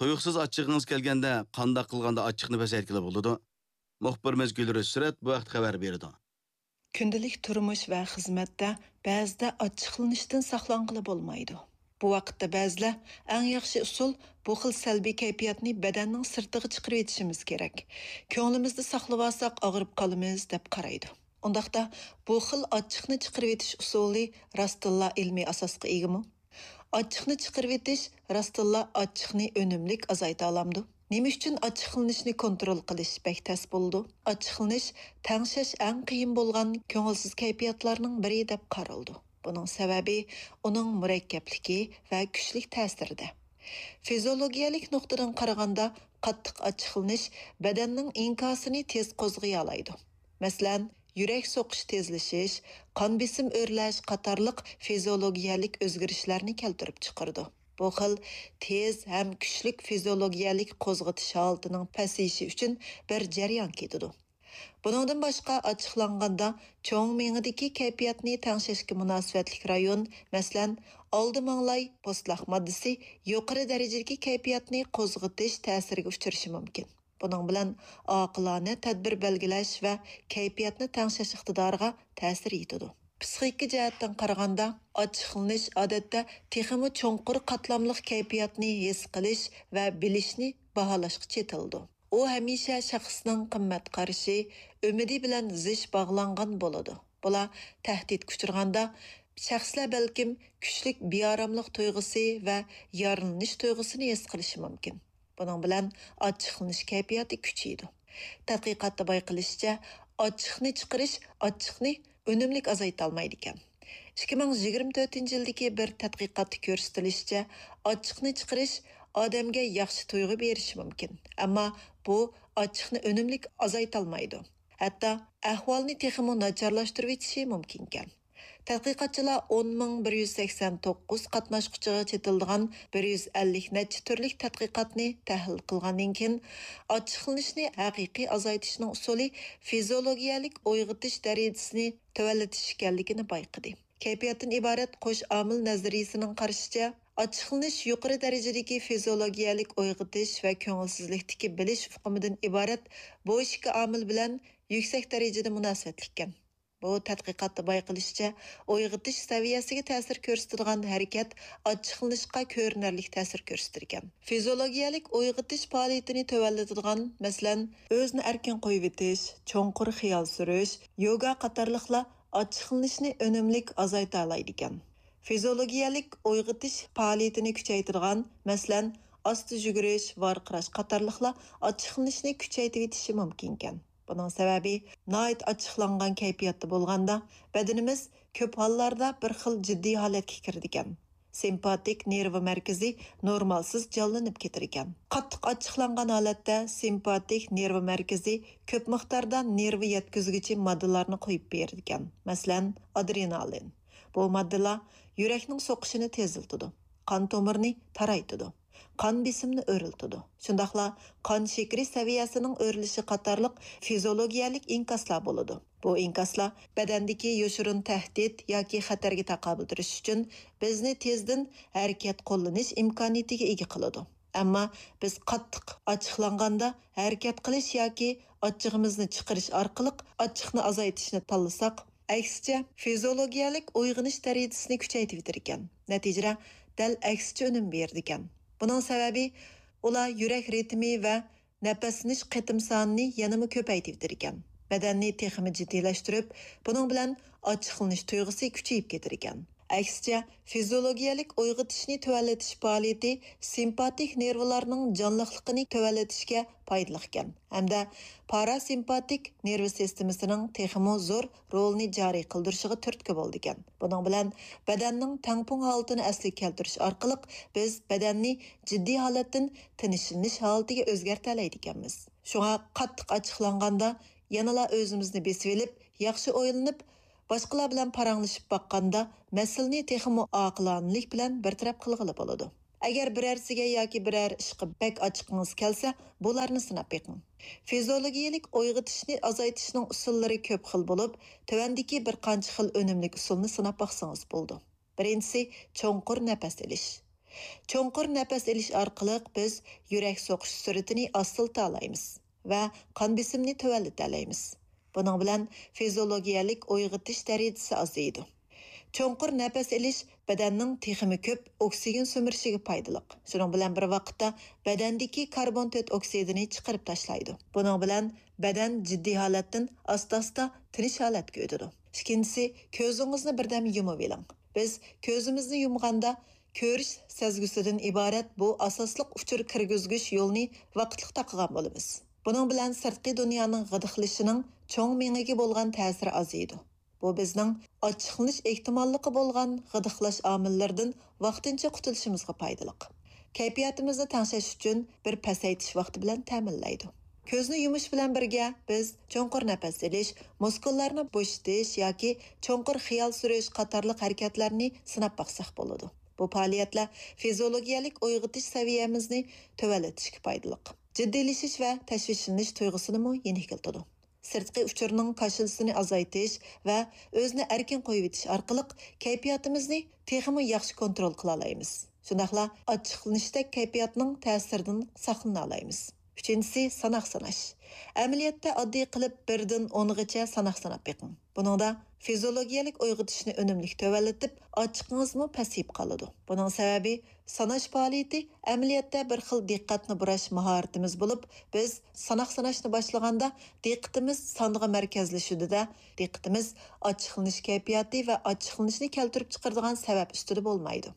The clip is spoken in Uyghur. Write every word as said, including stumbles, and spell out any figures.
تۇيۇقسىز ئاچچىقىڭىز كەلگەندە قانداق قىلغاندا ئاچچىقنى پەسەيتكىلى بولىدۇ؟ مۇخبىرىمىز گۈلرۈز سۈرەت بۇ ھەقتە خەۋەر بېرىدۇ. كۈندىلىك تۇرمۇش ۋە خىزمەتتە بەزىدە ئاچچىقلىنىشتىن ساقلانغىلى بولمايدۇ. بۇ ۋاقىتتا بەزىلەر ئەڭ ياخشى ئۇسۇل بۇ خىل سەلبىي كەيپىياتنى بەدەننىڭ سىرتىغا چىقىرىۋېتىشىمىز كېرەك. كۆڭلىمىزدە ساقلىۋالساق ئاغرىپ قالىمىز دەپ قارايدۇ. ئۇنداقتا بۇ خىل ئاچچىقنى چىقىرىۋېتىش ئۇسۇلى راستتىنلا ئىلمىي ئاساسقا ئىگىمۇ؟ ئاچچىقنى چىقىرىۋېتىش راستتىنلا ئاچچىقنى ئۈنۈملۈك ئازايتالامدۇ؟ نېمە ئۈچۈن ئاچچىقلىنىشنى كونترول قىلىش بەك تەس بولىدۇ؟ ئاچچىقلىنىش تەڭشەش ئەڭ قىيىن بولغان كۆڭۈلسىز كەيپىياتلارنىڭ بىرى دەپ قارىلىدۇ. بۇنىڭ سەۋەبى ئۇنىڭ مۇرەككەپلىكى ۋە كۈچلۈك تەسىرىدە. فىزىئولوگىيەلىك نۇقتىدىن قارىغاندا، قاتتىق ئاچچىقلىنىش بەدەننىڭ ئىنكاسىنى تېز قوزغىيالايدۇ. مەسىلەن، يۈرەك سوقۇش تېزلىشىش، قان بېسىم ئۆرلەش قاتارلىق فىزىئولوگىيەلىك ئۆزگىرىشلەرنى كەلتۈرۈپ چىقىرىدۇ. بۇ خىل تېز ھەم كۈچلۈك فىزىئولوگىيەلىك قوزغىتىش ھالىتىنىڭ پەسىيىشى ئۈچۈن بىر جەريان كېتىدۇ. بۇنىڭدىن باشقا، ئاچچىقلانغاندا چوڭ مېڭىدىكى كەيپىياتنى تەڭشەشكە مۇناسىۋەتلىك رايون، مەسىلەن، ئالدى ماڭلاي پوستلاق ماددىسى يۇقىرى دەرىجىدىكى كەيپىياتنى قوزغىتىش تەسىرىگە ئۇچرىشى مۇمكىن. بۇنىڭ بىلەن ئاقىلانە تەدبىر بەلگىلەش ۋە كەيپىياتنى تەڭشەش ئىقتىدارىغا تەسىر يېتىدۇ. پسىخىكا جەھەتتىن قارىغاندا، ئاچچىقلىنىش ئادەتتە تېخىمۇ چوڭقۇر قاتلاملىق كەيپىياتنى ھېس قىلىش ۋە بىلىشنى باھالاشقا چېتىلىدۇ. ئۇ ھەمىشە شەخسنىڭ قىممەت قارىشى، ئۈمىدى بىلەن زىچ باغلانغان بولىدۇ. بۇلار تەھدىتكە ئۇچرىغاندا، شەخسلەر بەلكىم كۈچلۈك بىئاراملىق تۇيغۇسى ۋە يارىلىنىش تۇيغۇسىنى ھېس قىلىشى مۇمكىن. بۇنىڭ بىلەن ئاچچىقلىنىش كەيپىياتى كۈچىيىدۇ. تەتقىقاتتا بايقىلىشىچە، ئاچچىقنى چىقىرىش ئاچچىقنى ئۈنۈملۈك ئازايتالمايدىكەن. ئىككى مىڭ يىگىرمە تۆتىنچى يىلدىكى بىر تەتقىقاتتا كۆرسىتىلىشىچە، ئاچچىقنى چىقىرىش ئادەمگە ياخشى تۇيغۇ بېرىشى مۈمكۈن، ئەمما بۇ ئاچچىقنى ئۈنۈملۈك ئازايتالمايدۇ. ھەتتا ئەھۋالنى تېخىمۇ ناچارلاشتۇرۇۋېتىشى مۇمكىنكەن. تەتقىقاتچىلار ئون مىڭ بىر يۈز سەكسەن توققۇز قاتناشقۇچىغا چېتىلىدىغان بىر يۈز ئەللىك نەچچە تۈرلۈك تەتقىقاتنى تەھلىل قىلغاندىن كېيىن، ئاچچىقلىنىشنى ھەقىقىي ئازايتىشنىڭ ئۇسۇلى فىزىئولوگىيەلىك ئويغىتىش دەرىجىسىنى تۆۋەنلىتىش ئىكەنلىكىنى بايقىدى. كەيپىياتتىن ئىبارەت قوش ئامىل نەزەرىيىسىنىڭ قارىشىچە، ئاچچىقلىنىش يۇقىرى دەرىجىدىكى فىزىئولوگىيەلىك ئويغىتىش ۋە كۆڭۈلسىزلىكتىكى بىلىش ئۇقۇمىدىن ئىبارەت بۇ ئىككى ئامىل بىلەن يۈكسەك دەرىجىدە مۇناسىۋەتلىككەن. بۇ تەتقىقاتتا بايقىلىشىچە، ئويغىتىش سەۋىيەسىگە تەسىر كۆرسىتىدىغان ھەرىكەت ئاچچىقلىنىشقا كۆرۈنەرلىك تەسىر كۆرسىتىدىكەن. فىزىئولوگىيەلىك ئويغىتىش پائالىيىتىنى تۆۋەنلىتىدىغان، مەسىلەن، ئۆزىنى ئەركىن قويۇۋېتىش، چوڭقۇر خىيال سۈرۈش، يوگا قاتارلىقلار ئاچچىقلىنىشنى ئۈنۈملۈك ئازايتالايدىكەن. فىزىئولوگىيەلىك ئويغىتىش پائالىيىتىنى كۈچەيتىدىغان، مەسىلەن، ئاستا يۈگۈرۈش، ۋارقىراش قاتارلىقلار ئاچچىقلىنىشنى كۈچەيتىۋېتىشى مۇمكىنكەن. بۇنىڭ سەۋەبى، ناھايىتى ئاچچىقلانغان كەيپىياتتا بولغاندا، بەدىنىمىز كۆپ ھاللاردا بىر خىل جىددىي ھالەتكە كىرىدىكەن. سىمپاتىك نېرۋا مەركىزى نورمالسىز جانلىنىپ كېتىدىكەن. قاتتىق ئاچچىقلانغان ھالەتتە سىمپاتىك نېرۋا مەركىزى كۆپ مىقداردا نېرۋا يەتكۈزگۈچى ماددىلارنى قويۇپ بېرىدىكەن، مەسىلەن، ئادرېنالىن. بۇ ماددىلار يۈرەكنىڭ سوقۇشىنى تېزلىتىدۇ، قان تومۇرىنى تارايتىدۇ، قان بېسىمىنى ئۆرلىتىدۇ. شۇنداقلا قان شېكىرى سەۋىيەسىنىڭ ئۆرلىشى قاتارلىق فىزىئولوگىيەلىك ئىنكاسلار بولىدۇ. بۇ ئىنكاسلار بەدەندىكى يوشۇرۇن تەھدىت ياكى خەتەرگە تاقابىل تۇرۇش ئۈچۈن بىزنى تېزدىن ھەرىكەت قوللىنىش ئىمكانىيىتىگە ئىگە قىلىدۇ. ئەمما بىز قاتتىق ئاچچىقلانغاندا ھەرىكەت قىلىش ياكى ئاچچىقىمىزنى چىقىرىش ئارقىلىق ئاچچىقنى ئازايتىشنى تاللىساق، ئەكسىچە، فىزىئولوگىيەلىك ئويغىنىش دەرىجىسىنى كۈچەيتىۋېتىدىكەن. نەتىجىدە، دەل ئەكسىچە ئۈنۈم بېرىدىكەن. بۇنىڭ سەۋەبى، ئۇلار يۈرەك رىتىمى ۋە نەپەسلىنىش قېتىم سانىنى يەنىمۇ كۆپەيتىۋېتىدىكەن. بەدەننى تېخىمۇ جىددىيلەشتۈرۈپ، بۇنىڭ بىلەن ئاچچىقلىنىش تۇيغۇسى كۈچىيىپ كېتىدىكەن. ئەكسىچە، فىزىئولوگىيەلىك ئويغىتىشنى تۆۋەنلىتىش پائالىيىتى سىمپاتىك نېرۋىلارنىڭ جانلىقلىقىنى تۆۋەنلىتىشكە پايدىلىقكەن ھەمدە پاراسىمپاتىك نېرۋا سىستېمىسىنىڭ تېخىمۇ زور رولىنى جارى قىلدۇرۇشىغا تۈرتكە بولىدىكەن. بۇنىڭ بىلەن بەدەننىڭ تەڭپۇڭ ھالىتىنى ئەسلىگە كەلتۈرۈش ئارقىلىق بىز بەدەننى جىددىي ھالەتتىن تىنچلىنىش ھالىتىگە ئۆزگەرتەلەيدىكەنمىز. شۇڭا قاتتىق ئاچچىقلانغاندا يەنىلا ئۆزىمىزنى بېسىۋېلىپ، ياخشى ئويلىنىپ، باشقىلار بىلەن پاراڭلىشىپ باققاندا مەسىلىنى تېخىمۇ ئاقىلانىلىك بىلەن بىر تەرەپ قىلغىلى بولىدۇ. ئەگەر بىرەرسىگە ياكى بىرەر ئىشقا بەك ئاچچىقىڭىز كەلسە، بۇلارنى سىناپ بېقىڭ. فىزىئولوگىيەلىك ئويغىتىشنى ئازايتىشنىڭ ئۇسۇللىرى كۆپ خىل بولۇپ، تۆۋەندىكى بىر قانچە خىل ئۈنۈملۈك ئۇسۇلنى سىناپ باقسىڭىز بولىدۇ. بىرىنچىسى، چوڭقۇر نەپەس ئېلىش. چوڭقۇر نەپەس ئېلىش ئارقىلىق بىز يۈرەك سوقۇش سۈرئىتىنى ئاستىلىتالايمىز ۋە قان بېسىمنى تۆۋەنلىتەلەيمىز. بۇنىڭ بىلەن فىزىولوگىيەلىك ئويغىتىش دەرىجىسى ئازىيىدۇ. چوڭقۇر نەپەس ئېلىش بەدەننىڭ تېخىمۇ كۆپ ئوكسىگېن سۈمۈرۈشىگە پايدىلىق. شۇنىڭ بىلەن بىر ۋاقىتتا بەدەندىكى كاربون تۆت ئوكسىدىنى چىقىرىپ تاشلايدۇ. بۇنىڭ بىلەن بەدەن جىددىي ھالەتتىن ئاستا-ئاستا تىنچ ھالەتكە ئۆتىدۇ. ئىككىنچىسى، كۆزىڭىزنى بىردەم يۇمۇۋېلىڭ. بىز كۆزىمىزنى يۇمغاندا كۆرۈش سەزگۈسىدىن ئىبارەت بۇ ئاساسلىق ئۇچۇر كىرگۈزگۈچ يولنى ۋاقىتلىق تاقىغان بولىمىز. بۇنىڭ بىلەن سىرتقى دۇنيانىڭ غىدىقلىشىشىنىڭ چوڭ مېڭىگە بولغان تەسىرى ئازىيىدۇ. بۇ بىزنىڭ ئاچچىقلىنىش ئېھتىماللىقى بولغان غىدىقلاش ئامىللىرىدىن ۋاقتىنچە قۇتۇلۇشىمىزغا پايدىلىق. كەيپىياتىمىزنى تەڭشەش ئۈچۈن بىر پەسەيتىش ۋاقتى بىلەن تەمىنلەيدۇ. كۆزنى يۇمۇش بىلەن بىرگە بىز چوڭقۇر نەپەس ئېلىش، مۇسكۇللارنى بوشىتىش ياكى چوڭقۇر خىيال سۈرۈش قاتارلىق ھەرىكەتلەرنى سىناپ باقساق بولىدۇ. بۇ پائالىيەتلەر فىزىولوگىيەلىك ئويغىتىش سەۋىيەمىزنى تۆۋەنلىتىشكە پايدىلىق. جىددىيلىشىش ۋە تەشۋىشلىنىش تۇيغۇسىنىمۇ يېنىكلىتىدۇ. سىرتقى ئۇچۇرنىڭ كاشىلىسىنى ئازايتىش ۋە ئۆزىنى ئەركىن قويۇۋېتىش ئارقىلىق كەيپىياتىمىزنى تېخىمۇ ياخشى كونترول قىلالايمىز. شۇنداقلا ئاچچىقلىنىشتەك كەيپىياتنىڭ تەسىرىدىن ساقلىنالايمىز. ئۈچىنچىسى، ساناق ساناش. ئەمەلىيەتتە ئاددىي قىلىپ بىردىن ئونغىچە ساناق ساناپ بېقىڭ. بۇنىڭدا فىزىولوگىيەلىك ئويغىتىشنى ئۈنۈملۈك تۆۋەنلىتىپ، ئاچچىقىڭىزمۇ پەسىيىپ قالىدۇ. بۇنىڭ سەۋەبى، ساناش پائالىيىتى ئەمەلىيەتتە بىر خىل دىققەتنى بۇراش ماھارىتىمىز بولۇپ، بىز ساناق ساناشنى باشلىغاندا دىققىتىمىز سانغا مەركەزلىشىدۇ-دە، دىققىتىمىز ئاچچىقلىنىش كەيپىياتى ۋە ئاچچىقلىنىشنى كەلتۈرۈپ چىقىرىدىغان سەۋەب ئۈستىدە بولمايدۇ.